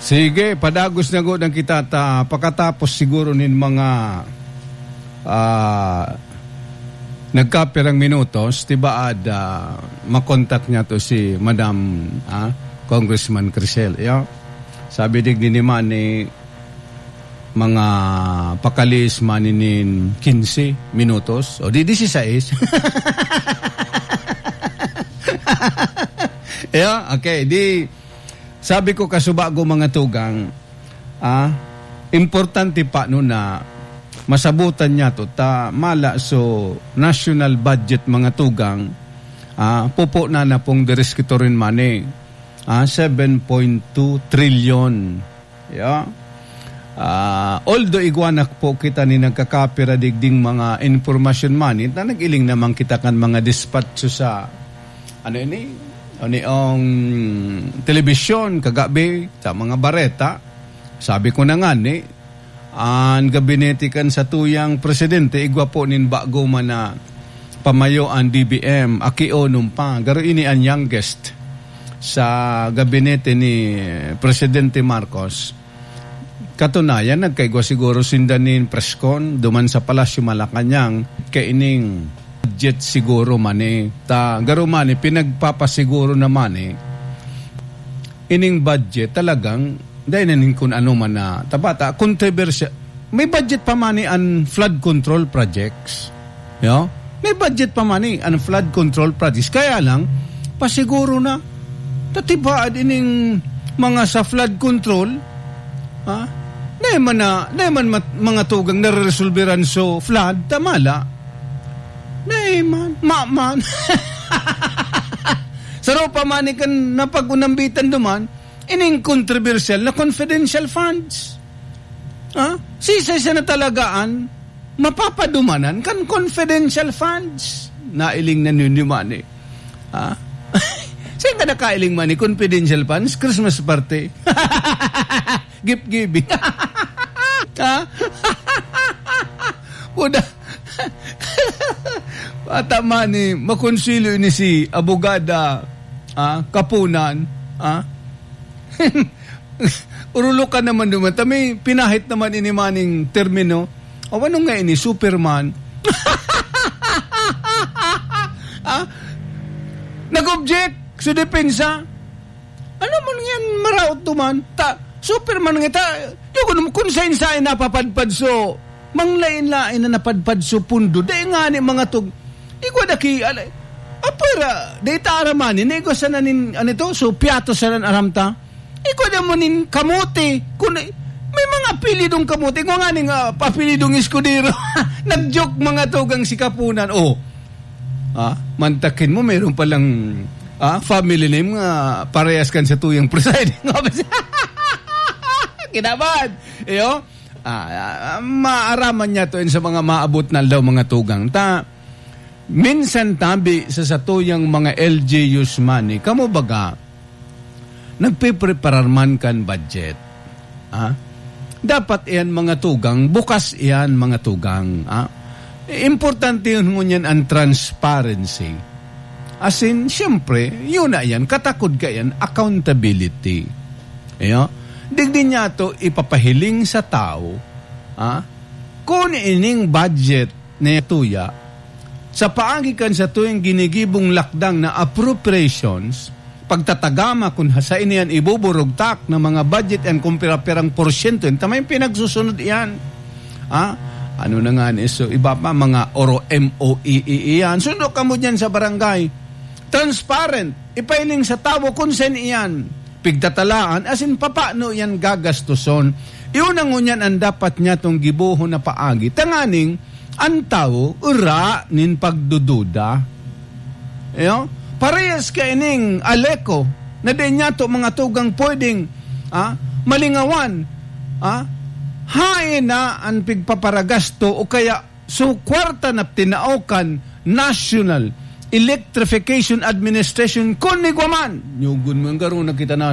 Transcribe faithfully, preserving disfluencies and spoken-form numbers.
Sige, padagos na gud ang kita ta, pakatapos siguro nin mga, ah, nagkapirang minutos, tibaad, ah, makontak niya to si Madam, ah, Congressman Crisel. Yo? Sabi digdi ni Manny, mga pakalis man nin quince minutos, o di dieciséis. Yeah, okay, di, sabi ko, kasubago, mga tugang, ah, importante pa no na masabutan niya to, ta mala so national budget, mga tugang, ah, pupo na na pong diris kito rin money, ah, seven point two trillion. Yeah. Ah, although igwa na po kita ni nagkakapira digding mga impormasyon money, ta nag-iling naman kita kan mga dispatcho sa, ano ini? Ano yung telebisyon, kagabi, sa mga bareta. Sabi ko na nga ni, an gabinete kan satuyang presidente, igwa po nin bago man na pamayo an D B M, aki o nung pa. Garo ini an youngest sa gabinete ni Presidente Marcos. Katunayan, nagkaigwa siguro sinda nin press con duman sa Palasyo Malacañang, kaining budget siguro money. Ta, garo money, pinagpapasiguro na money. Ining budget talagang, dahil na nin kun ano man na, tabata, kontrobersya. May budget pa money an flood control projects. Yo? May budget pa money an flood control projects. Kaya lang, pasiguro na. Tatibaad ining mga sa flood control, ha? Dahil man na, dahil man mat-, mga tugang nareresolberan so flood, tamala. Dahil man, ma-, man. Saro pa man ikan napag-unambitan duman, ining controversial na confidential funds. Ha? Sisay siya na talagaan mapapadumanan kan confidential funds. Nailing na ninyo man eh. Ha? Saan ka nakailing man eh? Confidential funds? Christmas party. Gift giving. Ha? Puda. Bata man eh, makonsilyo ini si abogada, ah, Kapunan, ah. Urulo ka naman duman. Ta may pinahit naman ini maning termino. O, ano nga ini? Superman. Ah? Nag-object sa depensa. Ano man yan, maraot duman? Ta, Superman nga ta, yung kun, kun sain-sain napapadpad so, manglain-lain na napadpad so pundo. Dai nga ni mga tug-, igwa da ki, ala, apwera, dai ta aramani, na igwa sana nin, ano to? So, piato sana aram ta. Igwa da mo nin kamote. Kun, may mga apelidong kamote. Igwa nga ning, ah, apelidong Escudero. Nag-joke mga tugang si Kapunan. Oh. Ah, mantakin mo, meron palang, ah, family name nga parehas kan sa tuyang presiding officer. Kinaban! Iyo? Ah, ah, maaraman niya to yun sa mga maabot na aldaw, mga tugang. Ta, minsan tabi sa satuyang mga L G Us man, eh, kamo baga, nagpipreparar man kan budget. Ah? Dapat iyan, mga tugang, bukas iyan, mga tugang. Ah? Importante yun ngunyan ang transparency. As in, siyempre, yun na yan, katakod ka yan, accountability. Iyo? Digdi niya to ipapahiling sa tao, ah? Kung ining budget na tuya, sa paagi kan satuyang ginigibong lakdang na appropriations, pagtatagama kun ha-, sa ini yan ibuburugtak na mga budget yan kung pira-pirang porsyento yan, ta may pinagsusunod iyan. Ah? Ano na nga ni so, iba pa, mga oro M O E E iyan. Sundo kamo dyan sa barangay. Transparent. Ipailing sa tawo kung saan iyan pigtatalaan, asin papano iyan gagastuson. Iyon ang ngunyan ang dapat niya tong gibohon na paagi. Tanganing, ang tawo, ura nin pagdududa. Iyo? Parehas kaining Aleco, na di niya to mga tugang pwedeng, ah, malingawan. Ah? Hain na ang pigpaparagasto o kaya so kwarta na tinao kan National Electrification Administration kun igwa man. Nyugon mo yung garo na kita na